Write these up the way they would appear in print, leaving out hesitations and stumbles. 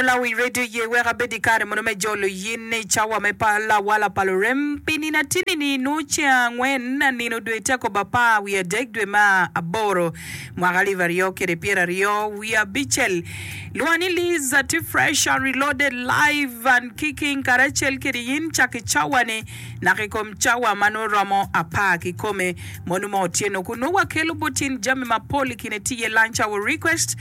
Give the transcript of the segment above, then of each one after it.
Lawi redio ye wek abed i kare mono me jolo yin i cawa me pa lawala pa lurem pi nino atini ni nwo ceng angwen nino dwe teko apar wiye adek dwe me aboro mwaka alip aryo kede pyeraryo wiye abicel. Lwonga ni Liz atye fresh and reloaded live and kicking karacel kede yin cak i cawa ni naka i kom cawa ma nwo romo apar kikome mono ma otyeno kun nwo wakelo bot yin jami mapol i kine tye iye lunch hour request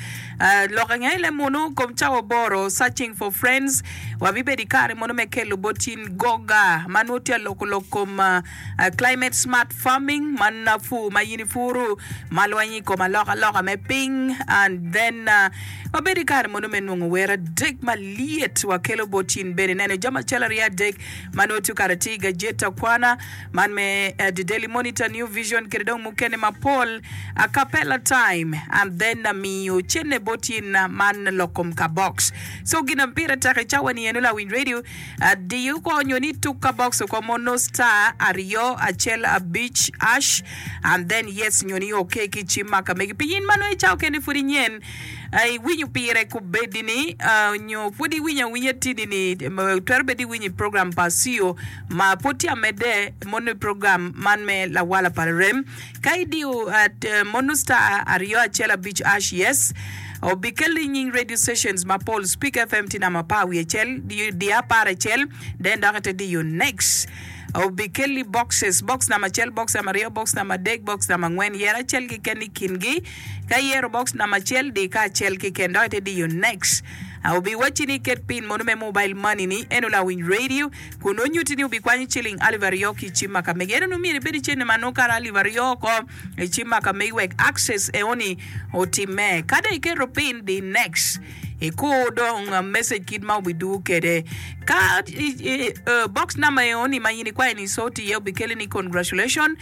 Lok ange le munu kom cawa oboro, Searching for Friends, Wabibedo i kare mono me kelo bot in goga ma nongo tye aloko lok kom Climate Smart Farming man pur ma in ipuru ma lwenyo i kom alokaloka me piny and then wabedo i kare mono me nongo wer adek malyet wakelo bot in bene neno jami acel aryo adek ma nongo tye okato atir i gajeti akwana man me The Daily Monitor, New Vision kede dong mukene mapol. Acapella time and then amiyo cene bot in man lok kom ka box. So gin ma pire tek i cawa ni eno lawiny radio diyo ko nyo ni tuk ka box oko mono star aryo acel abic ash and then yes nyo ni ok ki cim ma ka megi pi in ma nongo i cawa kene pud inyen iwinyo pire kubedi ni nyo pud iwinyo awinya tidi ni twero bedo iwinyo i program pa CEO ma pud tye amedde mono i program man me lawala pa larem. Ka idiyo mono star 215 ash yes, obikelli nying radio stations mapol. Speak FM tye namba apar wiye acel, diyo apar acel, then dok ite diyo next. Obikelli boxes, box namba acel, box namba aryo, box namba adek, box namba angwen. Yer acel keken i kingi. Ka iyero box namba acel, di ka acel keken dok ite diyo next. Obiwacci ni iket pin mono me mobile money ni, eno lawiny radio. Kun onyutti ni obikwanyo ciling alip aryo ki i cim ma ka megi. Ento nongo myero ibed i cente ma nongo kare alip aryo oko i cim ma ka megi wek access eoni otimme. Ka dong iketo pin, di next. Ikur dong message kit ma obidwogo kwede. Ka box number eoni ma in ikwayo ni sort iye obikeli ni congratulation,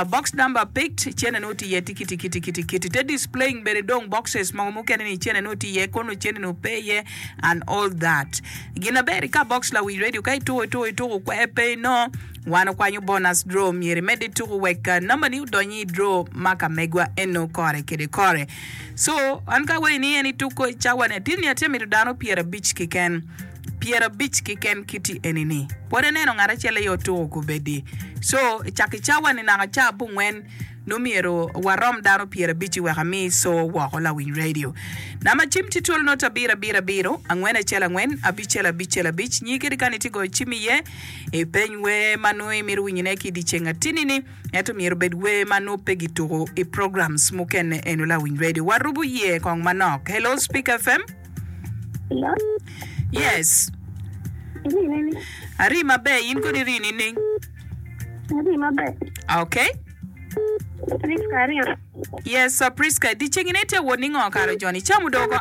box number picked, cente nongo tye iye tiki tiki tiki tiki. Te displaying bene dong boxes mogo mukene ni cente nongo tye iye kono cente nongo pe iye. and all that. Gin aber i ka box lawic radio ka ituko ituko ituko kwer pe ino wan okwanyo bonus draw myero imed ituko wek namba ni odony i draw ma ka megwa eno kore kede kore. So an ka awaci ni en ituko i cawa ni atir ni atye mito dano 50 keken 50 keken kiti eni ni pwod aneno ngat acel aye otuko kubedi so cak i cawa ni naka ca abongwen Nongo myero warom dano pyerabic-ci wek ami co woko lawiny redio. Namba cim tye twolo not abiro abiro abiro, angwen acel angwen, abicel abicel abic. Nyi kadi kany itye goyo cim iye, ipeny wer ma nongo imito winyone ki i dyeceng atini-ni, ento myero obed wer ma nongo pe gituko i programs mukene eno lawiny redio. Warubo iye kong manok. Hello Speak FM. Hello. Yes. Iri nini? Ari maber, in kodi iri nining? Ari maber. Okay. Priska aryo. Yes, uh, Priska, dyeceng ine tye wot ningo kare joni? Icamo dong oko?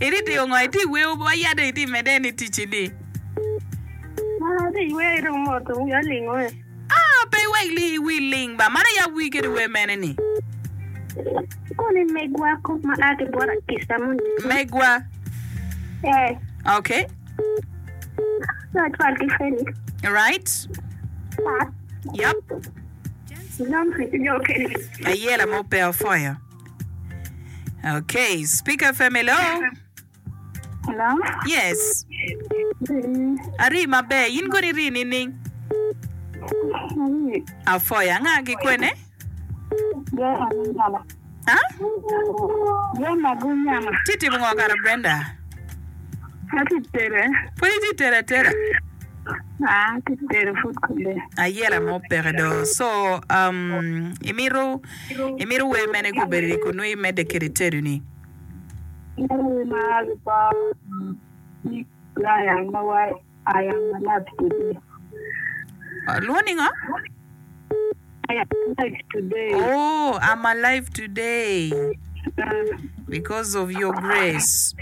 Iti tiyo ngo? Iti weo wa yade iti mede ni ticci ni? Ati yweyo dong mot wiya olingo e. Ah, pe iwek li wi ling ba. Mano ya wi kede wer mene ni? Koni megwa kop ma a ki bot Akisa moni. Megwa. Eh. Okay. Acwal ki Felix. Right. Pat. Yep. Humphrey ki jo okene. Ayela mo pe opwoyo. Okay, Speak FM, hello. Hello. Yes. Mm. Ari maber, in kodi iri nining? Ari. Apwoyo, anga ki kwene? Brenda Gunyama. Ha? Brenda Gunyama. Tye timo ngo kara Brenda? Atye tere. Pud itye tere atera? Ah, atye tere pud kode. Ayela mo peke do. So, um, imito imito wer mene gubedo i kunu imedde kede tedo ni? Imito wer ma gipo ni Brian ma wa I am alive today. Lwongo ni ngo? I am alive today. Oh, I'm alive today because of your grace.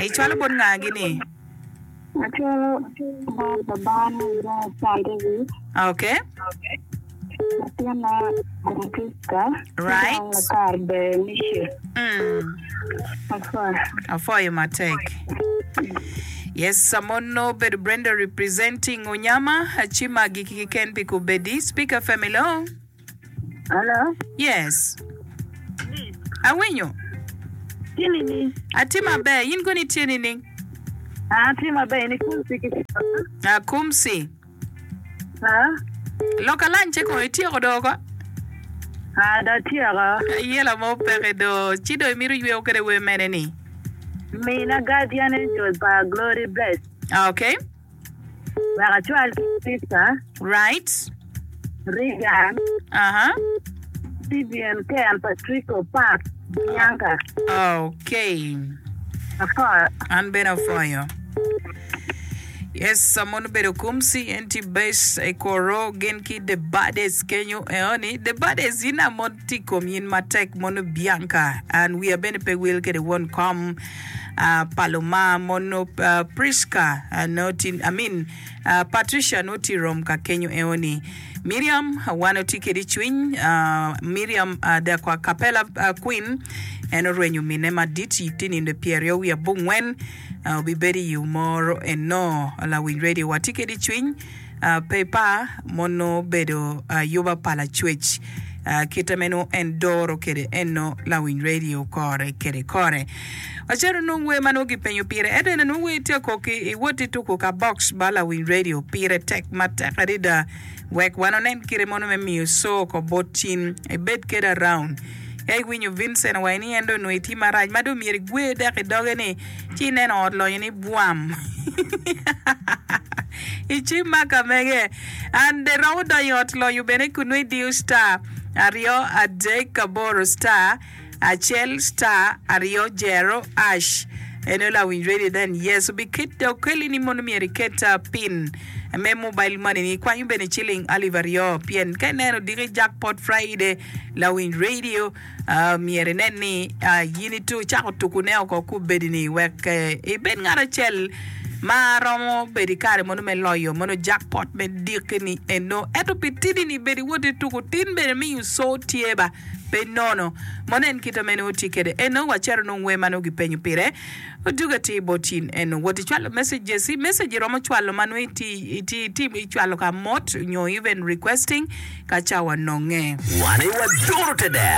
Icwalo bot nga gini? Acwalo bot babana John Sandevi, Okay. latinna Francisca, ki Right. dong lakar Berenice. Mm. Apwoyo. Apwoyo matek. Yes, amono obedo Brenda representing Onyama, ci magi keken pi kubedi. Speak FM, hello. Hello. Yes. Awinyo. Tye nining? Atye maber, in kono itye nining? An atye maber, in ikumsi ki cota? Akumsi. Ha? Loka lance kono ityeko do oko? Ha, do atyeko. Ayela mo peke do, ci do imito yweo kede wer mene ni? Mina Guardian Angel pa Glory Bless. Okay. Wek acwal ki Krista. Right. Reagan. Aha. Vivian, Ken, Patrico, Pat, Bianca. Okay. Apwoyo. An bene apwoyo. Yes, mon obedo kumsi en tye base i koro gin ki the baddest kenyo eoni the baddest in a mon tye i kom yin matek mono Bianca and wiya bene pe wil kede won kom uh, Paloma mono uh, Prisca uh, no ti, I mean Patricia nongo tye rom ka kenyo eo ni. Miriam wan otye kede i cwiny. Miriam the Capella Queen en orwenyo mine madit tye nindo pyeryo wiye abongwen obibedo i omoro eno. Lawiny radio wa tye kede i cwiny. Pe ipar, mono obedo ayuba pa Lacwec. Kite meno en doro kede eno lawiny radio kore kede kore. Wacito nongo wer ma nongo gipenyo pire ento ene nongo wer tye akok i wot i tuku ka box ba lawiny radio pire tek matek adada wek wan onen kite mono me miyo so ko bot cin ibed kede around. Ka iwinyo Vincent owaco ni en dong onongo itye marac ma dong myero igwe dek i doge ni ci ineno ot lonyo ni bwam i cim ma ka mege and romo donyo i ot lonyo bene kun nongo idiyo star aryo adek aboro star acel star aryo jero ash eno lawiny radio then yes obi okeli ni mono myero iket pin me mobile money ni ikwanyo bene ciling alip aryo pien ka ineno diki jackpot Friday Lawiny radio myero inen ni in icako tukune oko kubedi ni wek ibed ngat acel ma romo bedo i kare mono me loyo mono jackpot me diki ni eno. Ento pi tidi ni bed iwot ituku tin bene miyo co tye ba pe nono. Mono en kite mene otye kede eno wacito nong wer ma nongo gipenyo pire. Oduga atir bot in eno wot icwalo messages i message iromo cwalo ma nongo iti iti iti icwalo ka mot nyo even requesting ka cawa nonge. Wan aye waduro te dero.